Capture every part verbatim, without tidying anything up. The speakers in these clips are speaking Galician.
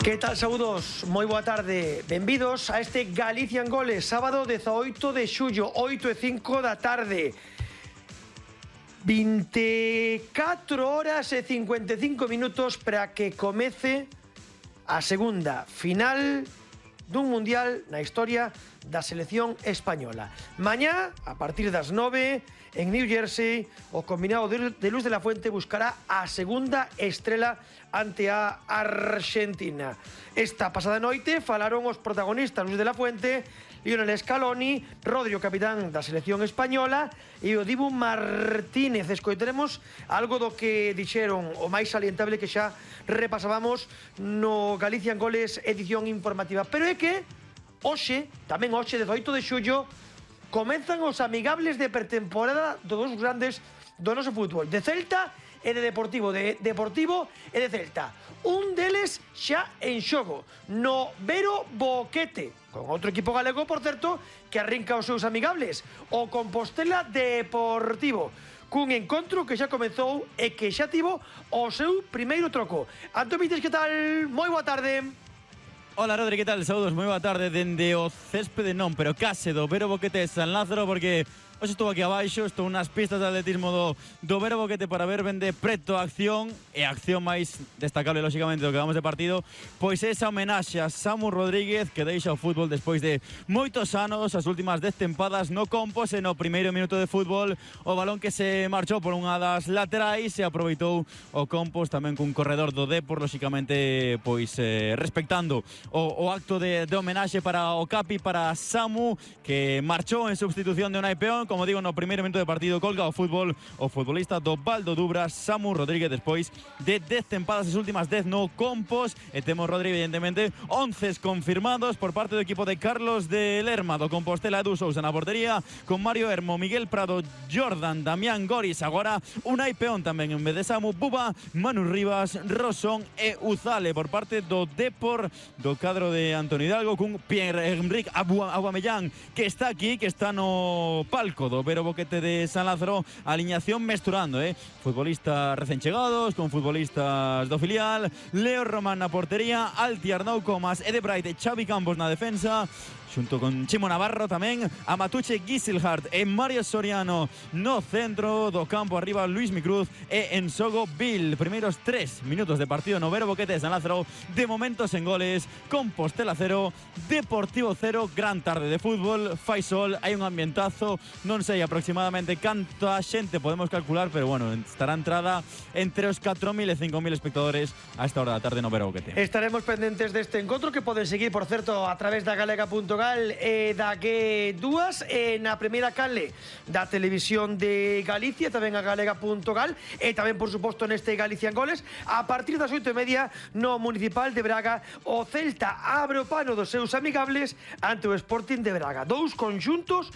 Que tal, saúdos? Moi boa tarde. Benvidos a este Galicia en Goles, sábado dezaoito de xullo, oito e cinco da tarde. veinticuatro horas e cincuenta e cinco minutos para que comece a segunda final dun mundial na historia da selección española. Mañá, a partir das nove, en New Jersey, o combinado de Luz de la Fuente buscará a segunda estrela ante a Argentina. Esta pasada noite falaron os protagonistas Luz de la Fuente, Lionel Scaloni, Rodri, o capitán da selección española, e o Dibu Martínez. Escoiteremos algo do que dixeron, o máis salientable que xa repasábamos no Galicia en Goles edición informativa. Pero é que hoxe, tamén hoxe, dezaoito de xullo, comenzan os amigables de pretemporada dos dos grandes do noso fútbol, de Celta e de Deportivo, de Deportivo e de Celta. Un deles xa en xogo, no Vero Boquete, con outro equipo galego, por certo, que arrinca os seus amigables, o Compostela Deportivo, cun encontro que xa comezou e que xa tivo o seu primeiro troco. Antón Vites, que tal? Moi boa tarde. Hola Rodri, que tal? Saúdos, moi boa tarde dende o céspede non, pero case do Vero Boquete de San Lázaro, porque hoxe estou aquí abaixo, estou nas pistas de atletismo do, do Vero Boquete para ver ben de preto a acción, e a acción máis destacable, lóxicamente, do que vamos de partido, pois é esa homenaxe a Samu Rodríguez, que deixa o fútbol despois de moitos anos, as últimas dez tempadas no Compos, e no primeiro minuto de fútbol, o balón que se marchou por unha das laterais e aproveitou o Compos tamén cun corredor do Depor, lóxicamente, pois eh, respectando o, o acto de, de homenaxe para o Capi, para Samu, que marchou en substitución de Unai Peón. Como digo, no primeiro minuto de partido colga o fútbol o futbolista do Valdo Dubras, Samu Rodríguez, despois de dez tempadas, as últimas dez no Compos, e temos, Rodri, evidentemente, once confirmados por parte do equipo de Carlos de Lerma, do Compostela, Edu Sousa na portería, con Mario Hermo, Miguel Prado, Jordan, Damián Goris, agora Unai Peón tamén en vez de Samu, Buba, Manu Rivas, Rosón e Uzale. Por parte do Depor, do cadro de Antonio Hidalgo, con Pierre-Emerick Aubameyang, que está aquí, que está no palco do Vero Boquete de San Lázaro, aliñación mesturando, eh? futbolistas recén chegados con futbolistas do filial, Leo Román na portería, Alti Arnau Comas, Ede Bright e Xavi Campos na defensa, xunto con Chimo Navarro tamén, Amatuche Giselhardt e Mario Soriano no centro do campo, arriba Luis Micruz e Ensogo Bill. Primeiros tres minutos de partido no Vero Boquete de San Lázaro, de momentos en goles, Compostela cero, Deportivo cero, gran tarde de fútbol, fai sol, hai un ambientazo, non sei aproximadamente canta xente podemos calcular, pero bueno, estará entrada entre os catro mil e cinco mil espectadores a esta hora da tarde no Vero Boquete. Estaremos pendentes deste encontro, que poden seguir, por certo, a través da galega punto gal e da G dúas, e na primeira canle da Televisión de Galicia, tamén a galega punto gal, e tamén, por suposto, neste Galicia en Goles, a partir das oito e media no Municipal de Braga. O Celta abre o pano dos seus amigables ante o Sporting de Braga. Dous conxuntos,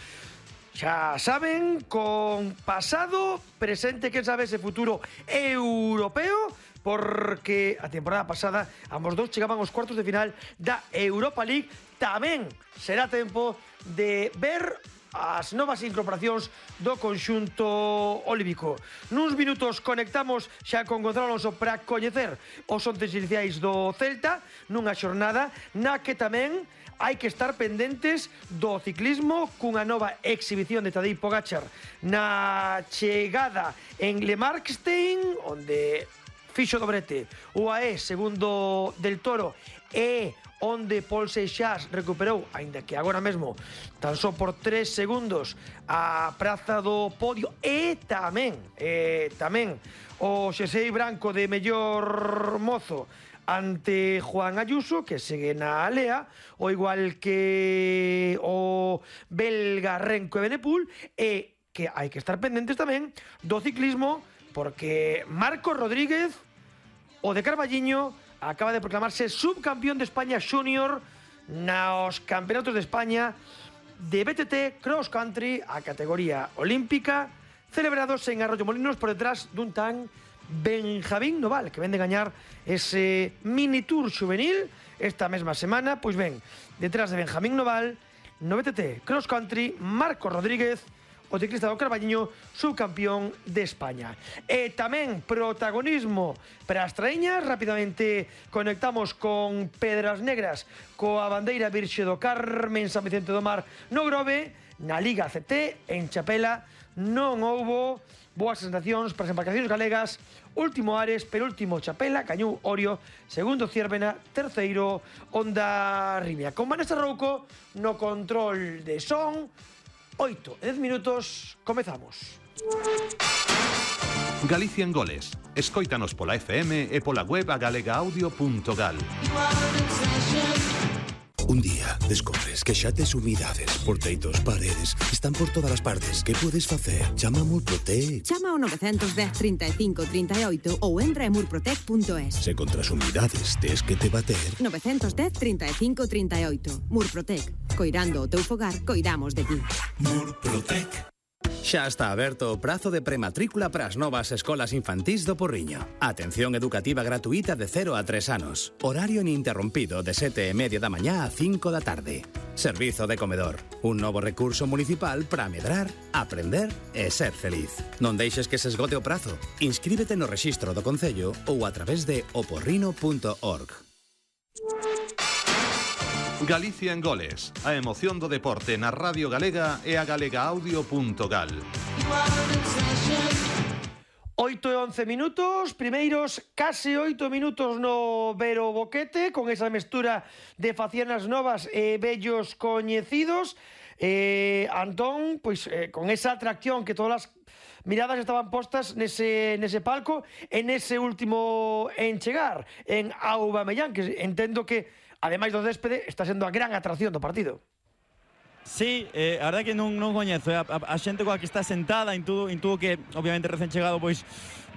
xa saben, con pasado, presente, quen sabe, ese futuro europeo, porque a temporada pasada ambos dous chegaban aos cuartos de final da Europa League. Tamén será tempo de ver as novas incorporacións do conxunto olímpico. Nuns minutos conectamos xa con Gonzalo Alonso para coñecer os onces iniciais do Celta, nunha xornada na que tamén hai que estar pendentes do ciclismo, cunha nova exhibición de Tadej Pogačar na chegada en Le Markstein, onde fixo dobrete o A E segundo del Toro, e onde Paul Seixas recuperou, aínda que agora mesmo tan só por tres segundos, a praza do podio, e tamén e tamén o xersei branco de mellor mozo ante Juan Ayuso, que segue na alea, o igual que o belga Renko Evenepoel, e que hai que estar pendentes tamén do ciclismo, porque Marcos Rodríguez, o de Carballiño, acaba de proclamarse subcampeón de España Junior nos campeonatos de España de B T T Cross Country, a categoría olímpica, celebrados en Arroyo Molinos, por detrás dun tan Benjamín Noval, que vende gañar ese mini tour juvenil esta mesma semana. Pois ben, detrás de Benjamín Noval, no B T T Cross Country, Marcos Rodríguez, o ciclista do Carballiño, subcampeón de España. E tamén protagonismo para as traíñas. Rapidamente conectamos con Pedras Negras, coa bandeira virxe do Carmen San Vicente do Mar no Grove. Na Liga C T, en Chapela, non houbo boas sensacións para as embarcacións galegas. Último Ares, penúltimo Chapela, gañou Orio, segundo Ciervena, terceiro Honda Rimia. Con Vanessa Rouco no control de son. Oito e dez minutos, comezamos. Galicia en Goles. Escóitanos pola F M e pola web a galega audio punto gal. Un día descobres que xa tes humidades por teitos, paredes, están por todas as partes. Que podes facer? Chama a Murprotec. Chama ao nove un cero, trinta e cinco, trinta e oito ou entra en murprotec punto es. Se contra as humidades tes que te bater. nove un cero, trinta e cinco, trinta e oito. Murprotec. Coirando o teu fogar, coidamos de ti. Murprotec. Xa está aberto o prazo de prematrícula para as novas escolas infantís do Porriño. Atención educativa gratuita de cero a tres anos. Horario ininterrompido de sete e media da mañá a cinco da tarde. Servizo de comedor. Un novo recurso municipal para medrar, aprender e ser feliz. Non deixes que se esgote o prazo. Inscríbete no rexistro do Concello ou a través de oporrino punto org. Galicia en Goles. A emoción do deporte na Radio Galega e a galega audio punto gal. Oito e once minutos, primeiros case oito minutos no Vero Boquete, con esa mestura de facianas novas e vellos coñecidos. Eh, Antón, pois eh, con esa atracción que todas as miradas estaban postas nese, nese palco, en ese último en chegar, en Aubameyang, que entendo que, ademais do céspede, está sendo a gran atracción do partido. Sí, eh, a verdade que non, non coñezo, eh, a, a, a xente coa que está sentada, intudo, intudo que, obviamente, recén chegado, pois,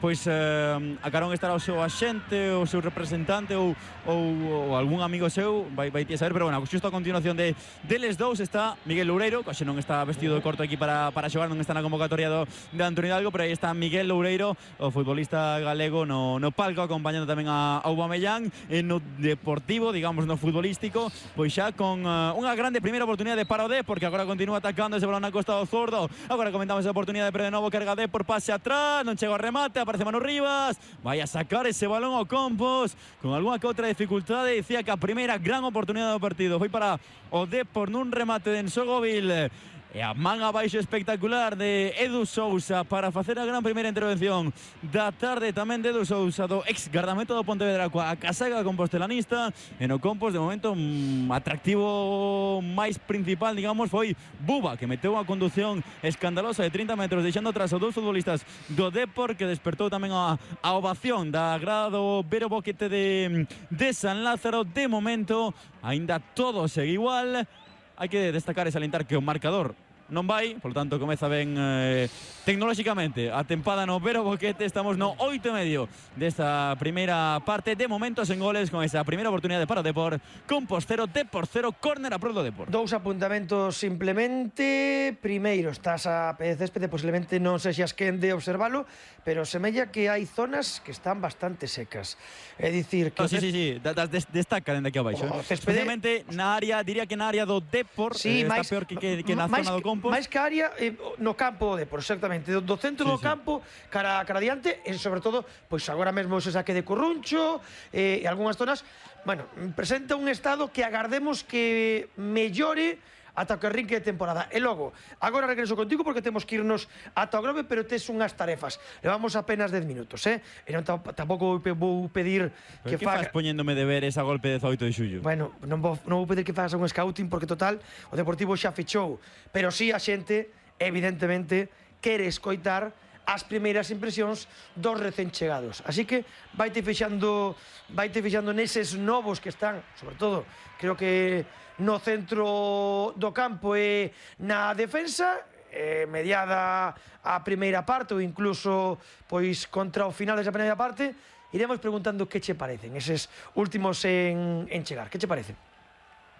pois eh, a carón estará o seu axente, o seu representante ou, ou, ou algún amigo seu, vai, vai ti a saber, pero bueno, xusto a continuación de deles dous está Miguel Loureiro, que xe non está vestido de corto aquí para, para xogar, non está na convocatoria do, de Antonio Hidalgo, pero aí está Miguel Loureiro, o futbolista galego no, no palco, acompañando tamén a Aubameyang, e no deportivo, digamos, no futbolístico, pois xa con uh, unha grande primeira oportunidade para o D, porque agora continúa atacando ese balón a costa do zurdo. Agora comentamos esa oportunidade, pero de novo carga D por pase atrás, non chega o remate, aparece Manu Rivas, vai a sacar ese balón ao Compos con algunha que outra dificultade. Dicía que a primeira gran oportunidade do partido foi para o D por nun remate de Ensogóvil. E a man abaixo espectacular de Edu Sousa para facer a gran primeira intervención da tarde tamén de Edu Sousa, do ex gardameta do Pontevedra coa casaga compostelanista. E no Compos, de momento, mm, atractivo máis principal, digamos, foi Buba, que meteu a conducción escandalosa de trinta metros, deixando atrás os dous futbolistas do Depor, que despertou tamén a, a ovación da grada do Vero Boquete de, de San Lázaro. De momento, aínda todo segue igual. Hai que destacar e salientar que o marcador non vai, por lo tanto comeza ben eh, tecnolóxicamente a tempada no Vero Boquete. Estamos no oito e medio desta primeira parte, de momentos en goles, con esa primeira oportunidade para o Depor. Compos cero, Depor cero, córner a prol do Depor. Dous apuntamentos simplemente. Primeiro, estás a pé de céspede, posiblemente non sexas quen de observalo, pero semella que hai zonas que están bastante secas. É dicir que... Oh, sí, sí, sí, das des, destaca dende aquí abaixo. O céspede... Especialmente na área, diría que na área do Depor, sí, eh, máis, está peor que, que, que na máis, zona do Compos. máis que área eh, no campo do Depor, exactamente, do, do centro sí, do sí. campo cara, cara adiante, e sobre todo, pois agora mesmo se saque de Corruncho eh, e algunhas zonas, bueno, presenta un estado que agardemos que mellore ata o que arrinque de temporada. E logo, agora regreso contigo porque temos que irnos ata o Grove, pero tes unhas tarefas. Levamos apenas dez minutos, eh? E non tampouco vou pedir que que faga... faz poñéndome deberes a golpe de dezaoito de xullo? Bueno, non vou, non vou pedir que fagas un scouting porque total o Deportivo xa fechou, pero si sí a xente evidentemente quere escoitar as primeiras impresións dos recén chegados. Así que vaite fixando, vaite fixando neses novos que están, sobre todo, creo que no centro do campo e na defensa, eh, mediada a primeira parte ou incluso pois contra o final desa primeira parte, iremos preguntando que che parecen eses últimos en, en chegar. Que che parecen?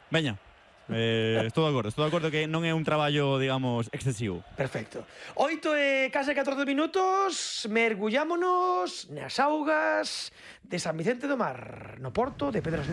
Veña. Eh, estou de acordo, estou de acordo que non é un traballo, digamos, excesivo. Perfecto. Oito e case catorce minutos, mergullámonos nas augas de San Vicente do Mar, no porto de Pedras Negras.